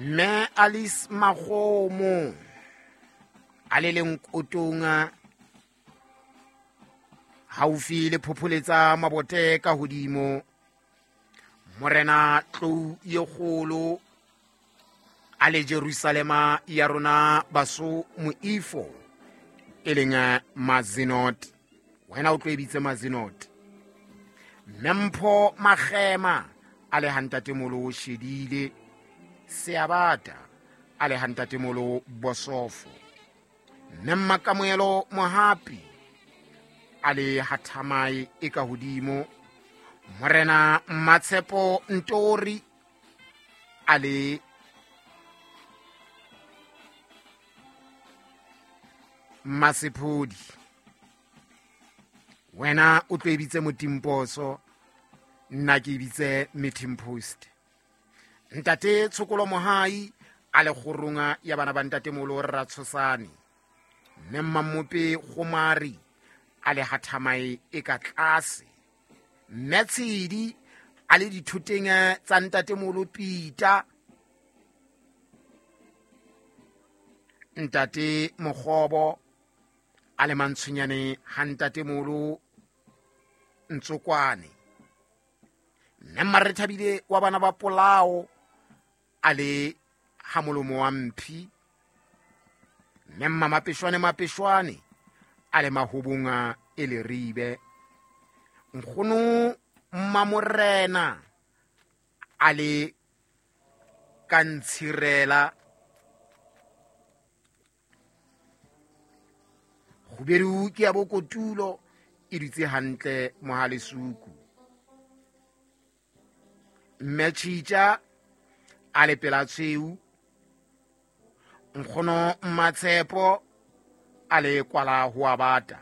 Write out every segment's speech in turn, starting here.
Mme Alice Makgomo a le leng kotong haufi le phopholetsa mabote ka hodimo. Morena Tlou ye kgolo a le Jerusalema ya rona baso moifo e leng Mazinot. Wena o tlo e bitse Mazinot. Mme Magema a le hantatemolo Shedile Seabata a le hantatemolo Bosofo. Mme Makamoelo Mohapi a le hathamai e ka hodimo. Morena Matshepo Ntori a le Masephodi. Wena o tlo e bitse Motimposo, nna ke e bitse Meeting Post. Ntate Tshokolo Mohai a le kgoronga ya bana ba ntatemolo Ratshosane. Mme Mmamope Gomari a le hathamae e ka tlase. Mme Tshedi a le dithoteng tsa ntatemolo Pita. Ntate Mokgobo a le mantshonyane ha ntatemolo Ntsokwane. Mme Mmarethabile wa bana ba Polao a le ha molomo wa mphi. Mme Mmamapeshwane Mapeshwane a le mahobonga e leribe. Nkgono Mmamorena a le ka ntshirela. Kgubedu ke ya bokotulo e dutse hantle mohalesuku. Mme Tjhitja a le pela tshweu. Nkgono Mmatshepo a le kwala ho a bata.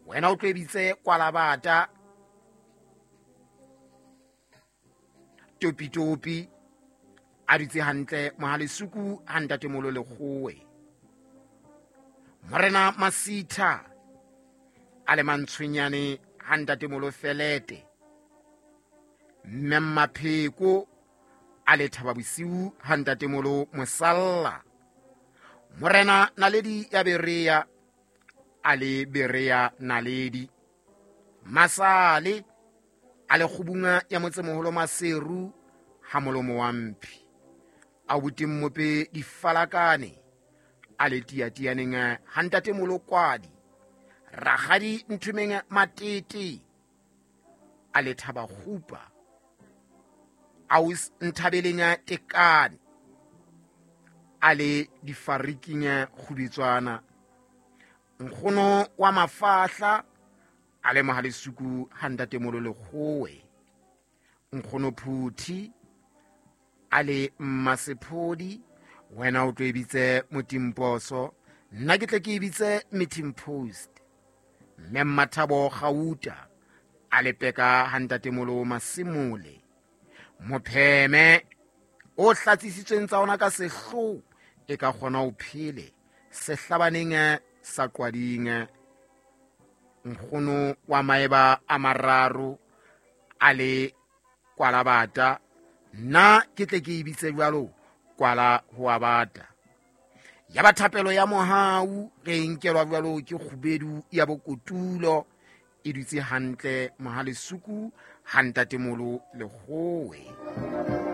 Wena o tlo e bitse kwala bata. Topi-topi a dutse hantle mohalesuku ha ntatemolo Lekgowe. Morena Masitha a le mantshwenyane ha ntatemolo Felete. Mme Mmapheko a le thaba bosiu ha ntatemolo Mosalla. Morena Naledi ya Berea a le Berea Naledi. Masale a le kgobunga ya motsemoholo Maseru ha molomo wa mphi. A boteng mope difalakane a le tiatianeng ha ntatemolo Kwadi. Rakgadi Nthomeng Matete a le thaba kgupa. Aus Nthabeleng Tekane a le difariking kgubetswana. Nkgono wa mafahla a le mohalesuku ha ntatemolo Lekgowe. Nkgono Phuthi a le Mmasephodi. Wena o tlo e bitse Motimposo, nna ke tle ke e bitse Meeting Post. Mme Mmathabo Gauta a le peka ha ntatemolo Masimole. Mopheme o hlatsisitsweng tsa ona ka sehloho e ka kgona ho phele sehlabaneng sa Qwading. Nkgono wa maeba a mararo a le kwalabata, nna ke tle ke e bitse jwalo kwala ho a bata. Ya ba thapelo ya mohau re e nkelwa jwalo ke kgubedu ya bokotulo e dutse hantle mohalesuku ha ntatemolo Lekgowe.